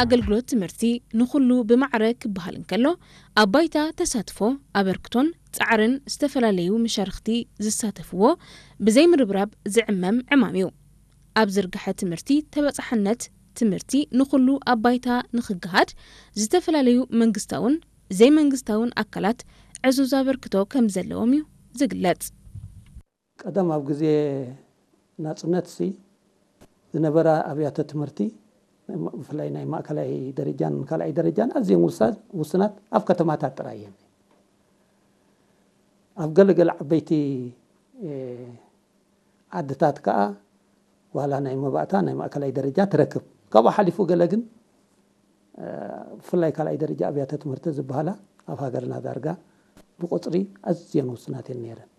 ኣገልግሎት ትምህርቲ ንኹሉ ብማዕረ ክበሃል እንከሎ፣ ኣብ ባይታ ተሳትፎ፣ ኣበርክቶን ጻዕርን ዝተፈላለዩ መሻርኽቲ ዝሳተፍዎ ብዘይምርብራብ ዝዕመም ዕማም እዩ። ኣብ ዝርግሐ ትምህርቲ ተበጻሕነት ትምህርቲ ንኹሉ ኣብ ባይታ ንኽገሃድ ዝተፈላለዩ መንግስታውን ዘይመንግስታውን ኣካላት ዕዙዝ ኣበርክቶ ከም ዘለዎም እዩ ዝግለጽ። ቀደም ኣብ ግዜ ናጽነትሲ ዝነበራ ኣብያተ ትምህርቲ፣ ብፍላይ ናይ ማእከላይ ደረጃን ካልኣይ ደረጃን ኣዝየን ውሳ- ውስናት ኣብ ከተማታት ጥራይ እየን። ኣብ ገለገለ ዓበይቲ ዓድታት ከኣ ዋላ ናይ መባእታ ናይ ማእከላይ ደረጃ ትረክብ። ካብኡ ሓሊፉ ገለ ግን ብፍላይ ካልኣይ ደረጃ ኣብያተ ትምህርቲ ዝበሃላ ኣብ ሃገርና ዳርጋ ብቁጽሪ ኣዝየን ውስናት እየን ነይረን።